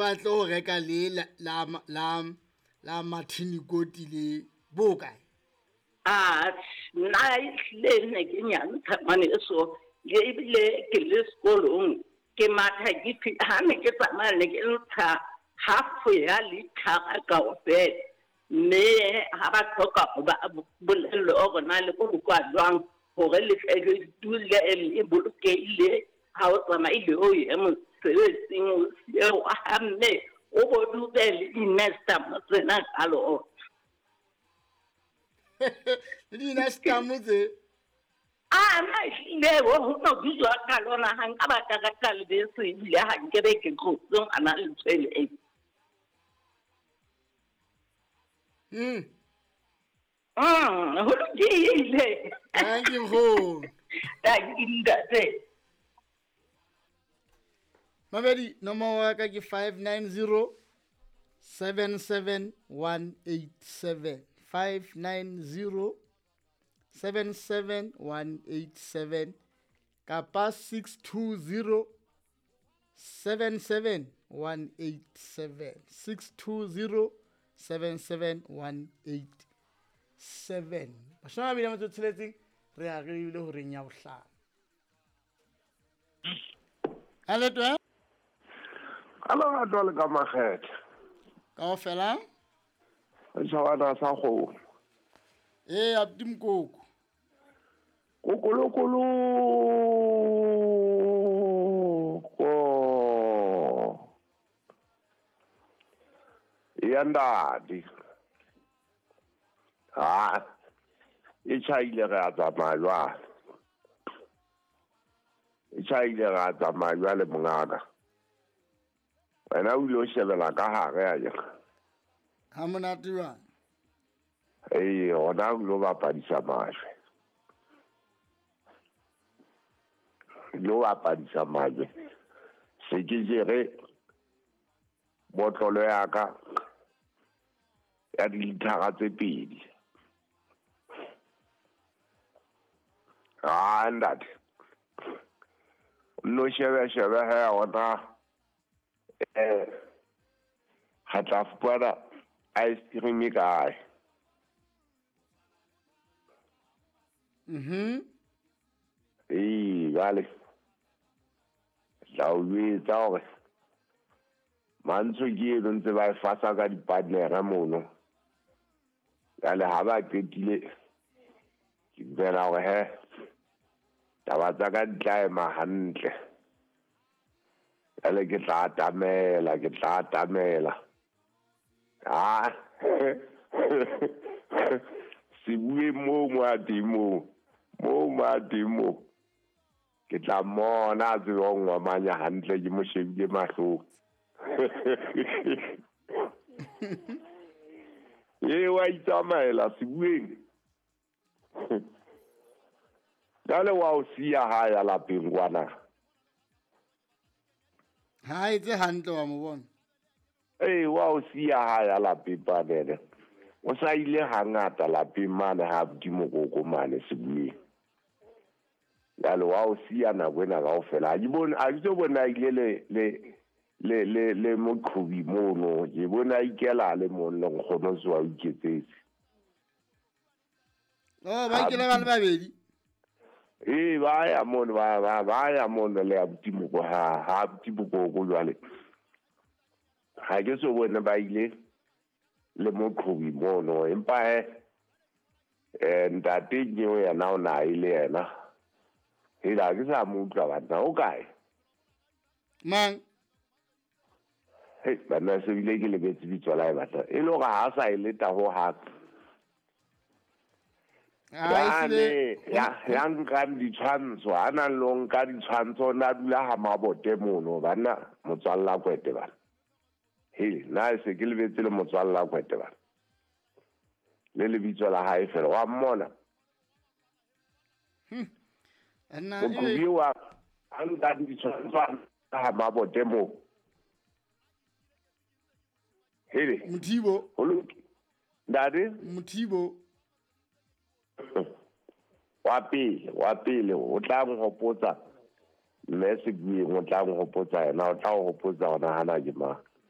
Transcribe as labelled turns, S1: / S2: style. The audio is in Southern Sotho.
S1: batle ho reka le la la la Martini Koti le bo kae?
S2: A nna ehlile ne ke nyantsha ngwaneso, ebile ke le sekolong ke matha ke ha ne ke tsamaya ne ke ntsha half ya lithara kaofela. Mme ha ba hloka ho ba bolelle hore na le bolokwa jwang hore le tle le dule le bolokehile ha o tsamaile o ye mosebetsing o sieo wa ha mme o bo dube le di-nestamo tsena ka lona.
S1: Le di-nestamo tse?
S2: A na ehlile ho no dujwa ka lona ha nka ba ka reka lebese ebile ha nkebe ke tlotse ngwana letswele e. Ho lokile.
S1: Thank you, nkgono.
S2: Thank you, ntate.
S1: Mabedi, nomoro ya ka ke 590 77187. 590 77187 kapa 620 77187. 620 77187. 26 re a re ile horeng ya bohlano. Hello, twe.
S3: Hello, ga le ka makgethe.
S1: Kaofela?
S3: Tšhabana sa kgomo.
S1: Ee, abuti Mokoko.
S3: Kokolokolo. Ya ndadi. Ha. E tjhaile re a tsamaya jwale. E tjhaile re a tsamaya jwale mongaka. Wena o ile o shebela ka hare a jeng.
S1: Ha monate jwang?
S3: Ee, hona o ilo bapadisa majwe. Ilo bapadisa majwe. Se ke jere botlolo ya ka ya dilithara tse 2. Ah, ntate. No shebe shebe he ona ha tla fumana ice cream kae? Ee, jwale tla o jwetsa hore mantswe ke eno ntse ba e fasa ka di-partnera mono. Jwale ha ba qetile ke dumela hore he taba tsa ka di tla ema hantle. Jwale ke tla atamela, ke tla atamela. Ah, se bue moo mo a teng moo, moo mo a teng moo. Ke tla mmona a tsebe ho ngwamanya hantle ke mo shebile mahlong. Ee, wa itsamaela sebueng. Jwale wa o siya ha ya lapeng kwana.
S1: Ha etse hantle wa mo bona.
S3: Ee, wa o siya ha ya lapeng panele. O sa ile hangata lapeng mane ha abuti Mokoko mane sebueng. Jwale wa o siya nako ena kaofela. Ha ke bone, ha ke so bone a ile le le le le le moqhobi mono. Ke bone a ikela le mong le nkgono se wa o iketsetse.
S1: Oh, ba ikela ba le babedi.
S3: Ee, ba ya mono, ba ba ba ya mono le abuti Mokoko ha ha abuti Mokoko jwale. Ha ke so bone ba ile le moqhobi mono, empa he ntate Nnyeo yena o na ile yena. Hela ke sa mo utlwa banna, o kae?
S1: Mang?
S3: Hei, banna se bile ke lebetse bitso la hae batla. E le hore ha sa e leta ho hang.
S1: Yane
S3: ya nkang ditshwantsho, ha nang le ho nka ditshwantsho, o na dula ha mabote mono, banna, motswalla kwete bana. He, nna se ke lebetse le motswalla kwete bana. Le lebitso la hae fela, wa mmona?
S1: Nna
S3: Moqhobi wa a nka ditshwantsho ha mabote moo. Hele.
S1: Mothibo.
S3: Ho lokile. Ntate?
S1: Mothibo.
S3: Wa pele, wa pele, o tla nhopotsa mme Sebueng, o tla nhopotsa yena, o tla o hopotsa hona hana ke mang.